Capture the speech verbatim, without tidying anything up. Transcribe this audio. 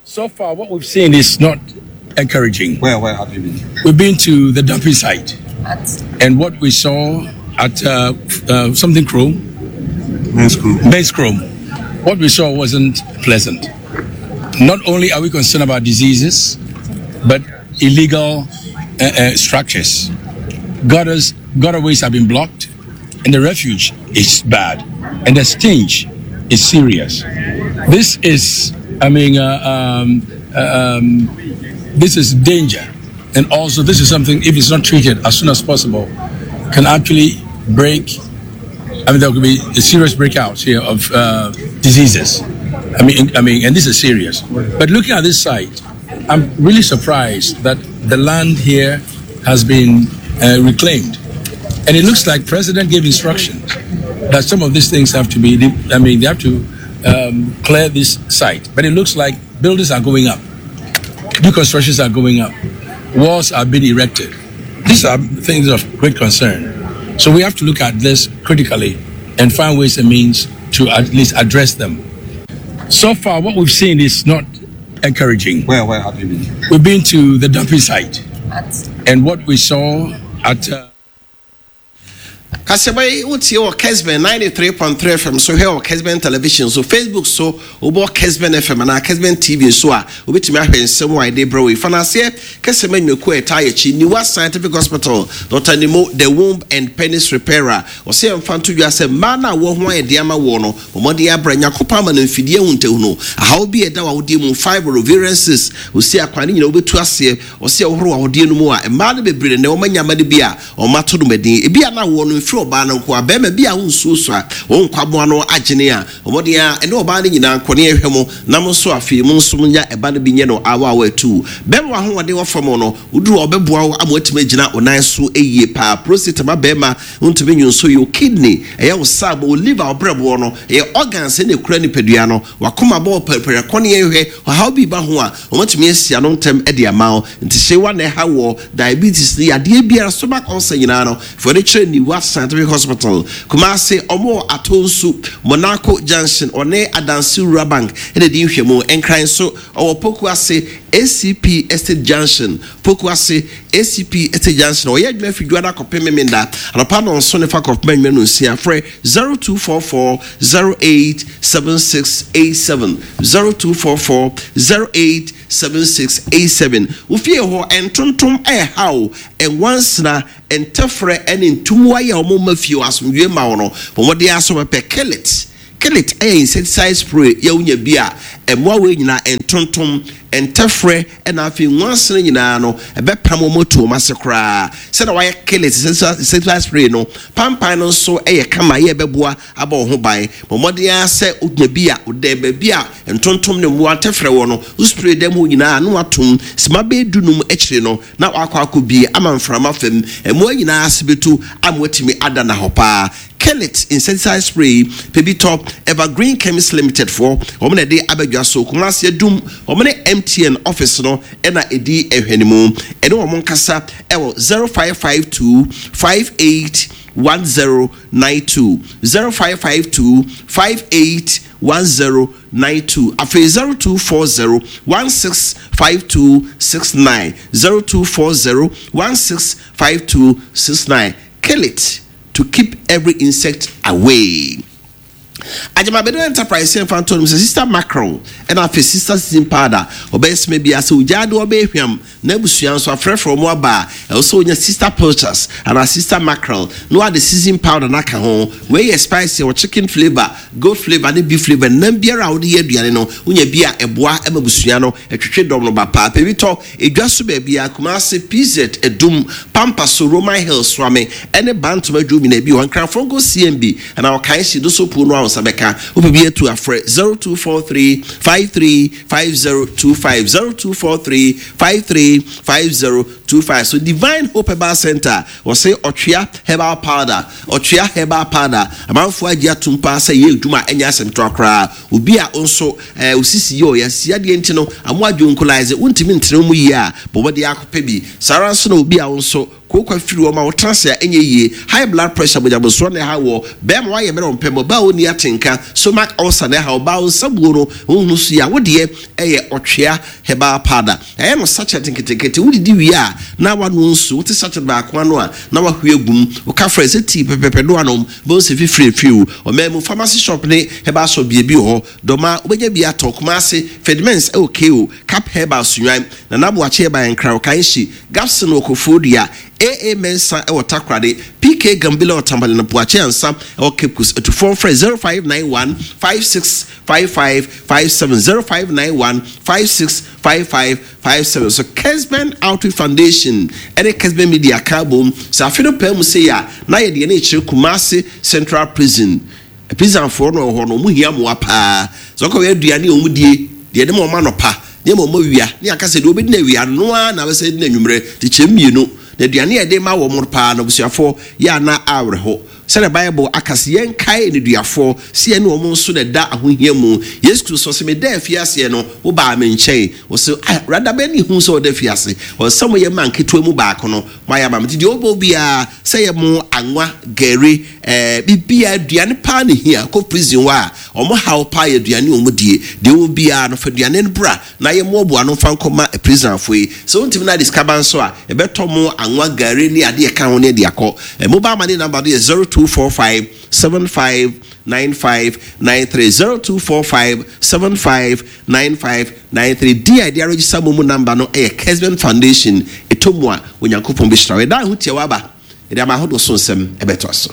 So far, what we've seen is not encouraging. Where, where have you been? We've been to the dumping site, and what we saw at uh, uh, something Chrome, Men's Chrome. Men's Chrome, what we saw wasn't pleasant. Not only are we concerned about diseases, but illegal uh, uh, structures. Gutters, gutterways have been blocked, and the refuge is bad, and the stench is serious. This is, I mean, uh, um, uh, um, this is danger, and also this is something, if it's not treated as soon as possible, can actually break. I mean, there could be a serious breakouts here of uh, diseases. I mean, I mean, and this is serious. But looking at this site, I'm really surprised that the land here has been uh, reclaimed, and it looks like President gave instructions that some of these things have to be. I mean, they have to um, clear this site. But it looks like buildings are going up, new constructions are going up, walls are being erected. These are things of great concern. So we have to look at this critically and find ways and means to at least address them. So far, what we've seen is not encouraging. Where, where have you been? We've been to the dumping site, and what we saw at. Uh, Kasɛbɛ yi wotie wɔ Kesben ninety-three point three F M so, hwɛ wɔ Kesben Television so, Facebook so, wobɔ Kesben F M anaa Kesben T V so a, wobɛtumi ahwɛ nsɛm a ɛde brɛ wo yi. Fanaseɛ kɛsɛm anwumakuo a ɛtaa yɛkyi, Niwa Scientific Hospital, Doctor Nimo, the womb and penis repairer, ɔsɛ yɛmfa nto dwa sɛ mmaa no a wɔ ho ayɛ de ama wɔ no, ɔmmɔden abrɛ Nyankopɔn ama no mfidie ahuntahunu ahaw bi a ɛda w'awodeɛ mu, fibroid, ovarian cyst, ɔsi akwan ne nyina wobɛtu aseɛ. Ɔsɛ ɛwohoro w'awodeɛ no mu a, mmaa no bebree na wɔma nyama no bi a ɔma to no madin ebi a na wɔ no mfiri ɔbaa no nko a, bɛrima bi a wonsuo so a wɔn nkwaboa no agyene a, ɔmɔden a ɛne ɔbaa no nyinaa nkɔ ne ɛhwɛ mo na mo nso afei mo nso nya ɛba no bi nyɛ no awa awa atu bɛrima ahoɔden wɔ fam no, woduru a ɔbɛboa wo ama watumi agyina wo nan so yie paa. Prostate ma bɛrima ntumi nyi nso yɛ kidney, ɛyɛ wo saabo, wo liver, wo brɛboɔ no, ɛyɛ organs ɛna ekura nipadua no, wakoma bɔ pɛrɛpɛrɛ kɔ ne yɛhwɛ ɔhaw bi ba ho a, wɔmatumi asi ano ntɛm de ama wo. Nti hyewa na ɛha wɔ diabetes ne yadeɛ biara, stomach ulcer nyinaa no, fɔ de kyerɛ Niwa Scientific Hospital. Kumase, ɔmo Atonsu Monaco Junction, ɔne Adansi Rural Bank ɛna di nhwɛmu. Nkran so, ɔwɔ Pokuase A C P Estate Junction, Pokuase A C P Estate Junction. Ɔyɛ adwuma fi dua akɔpem memenda anɔpa nɔnso ne fa kɔpem anwuma no nsia. Frɛ zero two four four zero eight seven six eight seven, zero two four four zero eight seven six eight seven. Wofie hɔ ntontom ɛɛhaw, ɛnwansena, ntɛfrɛ ɛne ntomoa yi a wɔn ma fie wɔ asomdwe ma wɔn no, wɔn de aso pɛpɛ Killit. Killit ɛyɛ insecticide spray yɛ wonya bi a, ɛmmoa wei nyinaa, ntontom, ntɛfrɛ, ɛna afei nwansena nyinaa no, ɛbɛpam wɔn atu wɔn ase koraa. Sɛdeɛ wayɛ Killit insecticide spray no, pampan no nso ɛyɛ kama yɛ ɛbɛboa abɔ wɔn ho ban. Wɔn ara sɛ wonya bi a, ɔda baabi a ntontom ne mmoa ntɛfrɛ wɔ no, wo spray dɛm hɔ nyinaa na watom sima bɛyɛ dunum akyire no na wakɔ akɔ bie ama mframa fam, mmoa nyinaa ase bɛtu ama watumi ada na hɔ paa. Kellet insecticide spray, pɛ tɔ. Evergreen Chemist Limited foɔ wɔn na ɛde abɛdwa so. Kumasi Adum, wɔn ne M T N office no ɛna ɛdi ɛhwɛ mu. Ɛne wɔn nkasa ɛwɔ zero five five two five eight one zero nine two, zero five five two five eight one zero nine two, afei zero two four zero one six five two six nine, zero two four zero one six five two six nine. Kill it to keep every insect away. Agyamabedo Enterprise sɛ mfa nto no sɛ Sister Mackerel ɛna afei Sister Season Powder, ɔbɛyɛ sima bi ase ogyaa de ɔbɛyɛ hwam na abusua nso afrɛfrɛ ɔmo aba a, ɛwɔ sɛ wonya Sister Pilchards anaa Sister Mackerel na wade season powder no aka ho. Wei yɛ spicy, wɔ chicken flavour, goat flavour ne beef flavour. Nam biara a wode yɛ aduane no, wonya bi a, ɛboa ma abusua no ɛtwetwe dɔm no ba paa. Pɛ bi tɔ edwa so baabi a, Kumase P Z Edum, Pampa so, Roman Hill, Suame ɛne Bantama dwom nyinaa bi wɔ. Nkranfoɔ nko C M B anaa ɔkan si do so puo no a, wo nsa bɛka. Wopɛ bi atu afrɛ zero two four three five three five zero two five, zero two four three five three five zero two five. So Divine Hope Herbal Center, wɔsɛ ɔtwea herbal powder, ɔtwea herbal powder, amanfoɔ agye atum paa sɛ yɛ adwuma a ɛnyɛ asɛm toa koraa. Obi a nso ɛɛ osisi yɛ ɔyɛ si adeɛ nti no amo adwonkolaise, wontumi ntena mu yie a, bɔbɔde akɔpɛ bi. Saa ara nso na obi a nso Kooko afiri wɔ ma wotena ase a ɛnyɛ yie, high blood pressure, mogyabosoɔ na ɛha wɔ bɛrima, wayɛ mmerɛ ɔmpɛ ma ɔbaa, ɔnni atenka, stomach ulcer na ɛha ɔbaa, nsabuo no wohunu so yi a, wodeɛ ɛyɛ Ɔtwea Herbal Powder. Ɛyɛ no sachet nketenkete. Wodidi wie a na wano nsuo, wote sachet baako ano a na wahwie agum, woka frɛ sɛ tii pɛpɛpɛ do anom bɛhu sɛ fifiri afiri wo. Ɔman mu pharmacy shop ne herbal shop biebi wɔ hɔ dɔma, wobɛnya bi atɔ. Kumase Fedmens ɛwɔ ko Cap Herbal Sunwan na naboakye ɛba Nkra Ɔkanhyi, Gapson wɔ Kofoɔ aa Mensa ɛwɔ Takoradi, P K Gambila wɔ Tamale na Buakye Ansa ɛwɔ Cape Coast. Atufoɔ frɛ zero five nine one five six five five five seven, zero five nine one five six five five five seven. So Kesben Outreach Foundation ɛne Kesben Media ka bom sɛ afe no pɛɛ mu sɛ yɛ a na yɛde yɛn akyerɛ Kumase Central Prison. Prisonfoɔ no wɔ hɔ no, ɔmo hia mmoa paa sɛ ɔkɔ aduane a ɔmo die deɛ ɛde ma ɔmo anɔpa ne ma ɔmo awia ne aka sɛ deɛ ɔbɛdi no awia noa na bɛsɛ di no anwummerɛ de kyɛ mmienu na aduane a yɛde ma wɔn paa no, abusuafoɔ, yɛ ana awerɛho sɛdeɛ Bible aka sɛ yɛnkae nneduafoɔ sɛ yɛne wɔn nso na ɛda ahohia mu. Yesu Kristo sɛ meda afiaseɛ no, wobaa me nkyɛn. Wɔsɛ ah, rada bɛn ne hu sɛ ɔda afiase? Ɔsɛ mo yɛ ma nketewa mu baako no moayɛ ama me. Nti deɛ wobɔ biara sɛ yɛ mo anwa, gari, ɛɛ biribiara, aduane paa ne hia. Kɔ prison hɔ a, ɔmo haw paa yɛ aduane a ɔmo die. Deɛ wɔ biara no, fa aduane no bra na yɛ mmoaboa no mfa nkɔma prisonfoɔ yi. Sɛ wontumi no ade sika ba nso a, ɛbɛtɔ mo anwa, gari ne adeɛ ɛka ho ne de akɔ. ɛ mobile money number no yɛ zero two four five seven five nine five nine three, zero two four five seven five nine five nine three. Di a yɛde aregister mo mu number no ɛyɛ Kesben Foundation. Ɛtɔ mu a, Onyankopɔn bɛhyira wo. Ɛda ho tia waba yɛde ama ahodoɔ so nsɛm ɛbɛtoa so.